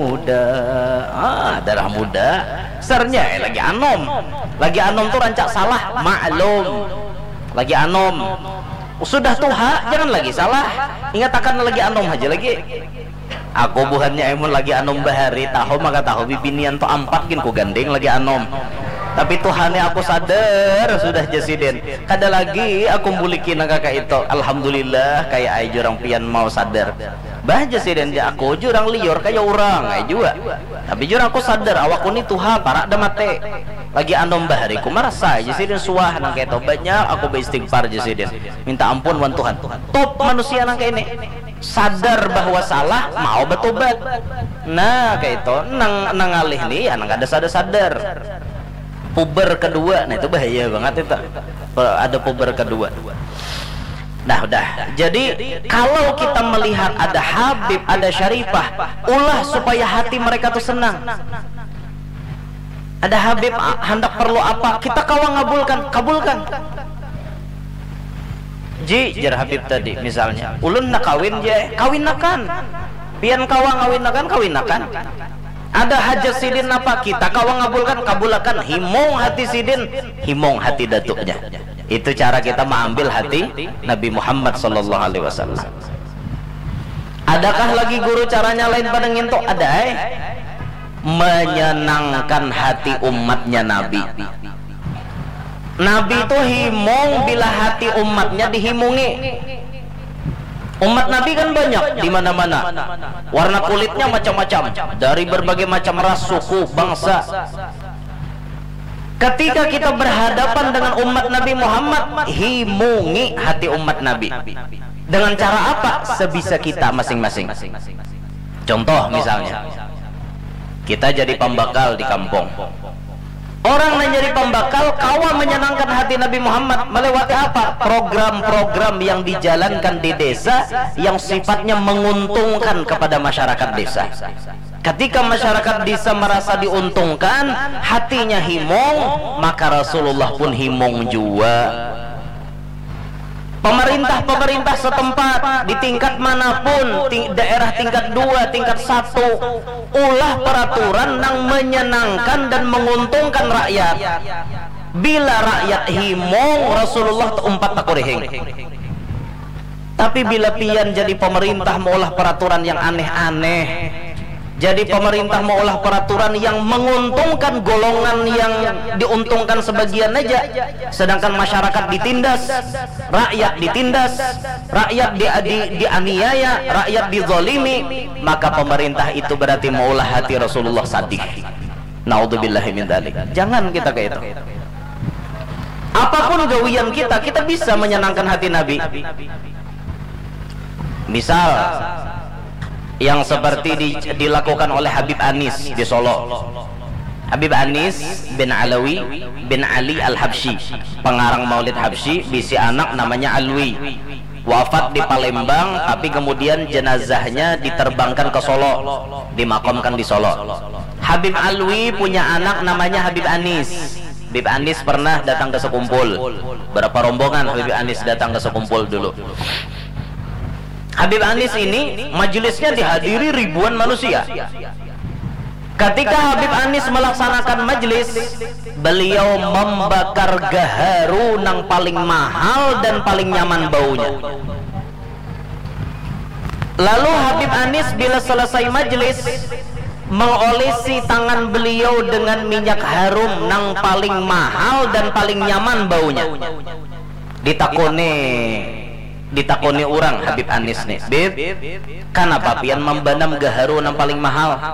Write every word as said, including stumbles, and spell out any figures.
muda. Ah, darah muda. Sarnya eh, lagi anom. Lagi anom tu rancak salah, maklum. Lagi anom. Sudah tuha, jangan lagi salah. Ingatakan lagi anom haja lagi. Aku buhannya amun lagi anom bahari tahu maka tahu bibinian tu ampat gin ku ganding lagi anom. Tapi tuhannya aku sadar sudah jar sidin. Kada lagi aku muliki nang kaka itu. Alhamdulillah kaya ai jurang pian mau sadar. Bah jar sidin, jar aku jurang liur kaya urang ai jua. Tapi jurang aku sadar awakku ni tuha parak dah mati. Lagi anom bahari ku marasa jar sidin suah nang kaya itu. Banyak aku baistighfar jar sidin. Minta ampun wan Tuhan. Top manusia nang kaya ini. Sadar bahwa salah, mau batobat. Nah, kaitu nang nang ngalih ni ya nang kada sadar-sadar. Puber kedua, nah itu bahaya bangat itu. Ada puber kedua. Nah, udah. Jadi kalau kita melihat ada Habib, ada Syarifah, ulah supaya hati mereka tuh senang. Ada Habib a- handak perlu apa, kita kawa ngabulkan, kabulkan. Ji, jar Habib tadi misalnya, ulun nak kawin je, kawinakan. Pian kawa ngawinakan, kawinakan. Ada hajat sidin napa, kita kawa ngabulkan, kabulakan. Himung hati sidin, himung hati datuknya. Itu cara kita mengambil hati Nabi Muhammad sallallahu alaihi wasallam. Adakah lagi guru caranya lain pada ngintu? Ada eh. Menyenangkan hati umatnya Nabi. Nabi itu himung bila hati umatnya dihimungi. Umat Nabi kan banyak di mana-mana. Warna kulitnya macam-macam, dari berbagai macam ras, suku, bangsa. Ketika kita berhadapan dengan umat Nabi Muhammad, himungi hati umat Nabi. Dengan cara apa? Sebisa kita masing-masing. Contoh misalnya, kita jadi pambakal di kampung. Orang yang jadi pambakal kawa menyenangkan hati Nabi Muhammad melewati apa? Program-program yang dijalankan di desa yang sifatnya menguntungkan kepada masyarakat desa. Ketika masyarakat desa merasa diuntungkan, hatinya himung, maka Rasulullah pun himung jua. Pemerintah-pemerintah setempat di tingkat manapun, ting- daerah tingkat dua, tingkat satu, ulah peraturan nang menyenangkan dan menguntungkan rakyat. Bila rakyat himung, Rasulullah umpat takurihing. Tapi bila pian jadi pemerintah maulah peraturan yang aneh-aneh, jadi pemerintah maulah peraturan yang menguntungkan golongan yang diuntungkan sebagian aja, sedangkan masyarakat ditindas, rakyat ditindas, rakyat di, di, dianiaya, rakyat dizalimi, maka pemerintah itu berarti maulah hati Rasulullah sadih. Naudzubillahi min dzalik. Jangan kita kayak itu. Apapun gawian kita, kita bisa menyenangkan hati Nabi. Misal yang seperti di- dilakukan oleh Habib Anis di Solo. Habib Anis bin Alawi bin Ali Al-Habsyi, pengarang Maulid Habsyi, bisi anak namanya Alwi. Wafat di Palembang, tapi kemudian jenazahnya diterbangkan ke Solo, dimakamkan di Solo. Habib Alwi punya anak namanya Habib Anis. Habib Anis pernah datang ke Sekumpul. Berapa rombongan Habib Anis datang ke Sekumpul dulu? Habib Anis ini majelisnya dihadiri ribuan manusia. Ketika Habib Anis melaksanakan majelis, beliau membakar gaharu nang paling mahal dan paling nyaman baunya. Lalu Habib Anis bila selesai majelis, mengolesi tangan beliau dengan minyak harum nang paling mahal dan paling nyaman baunya. Ditakuni, ditakuni orang Habib Anis nih, "Bib, kanapa pian membanam gaharu nang paling mahal?"